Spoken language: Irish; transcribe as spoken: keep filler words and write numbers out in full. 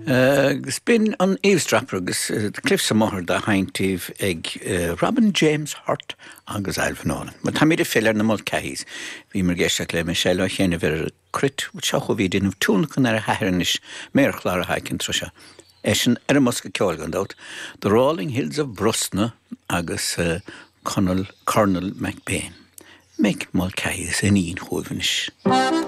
Agus b'in an Eavesdropper agus The Cliffs of Moher dá sheinnt daoibh ag Robin James Hurt agus Alvin Nolan. Ma táimid ag filleadh ar na Mulcahys. Bhíomar ag éisteacht le Michelle Ó Chéanna ar cruit seo bhí déanamh tionlacan ar a hathair anois méarchlár a haicin tro seo. Eisean ar an mbosca ceoil gan dabht, The Rolling Hills of Brosna agus uh, Conal Colonel McBain. Mick Mulcahy is iníon chugaibh anois.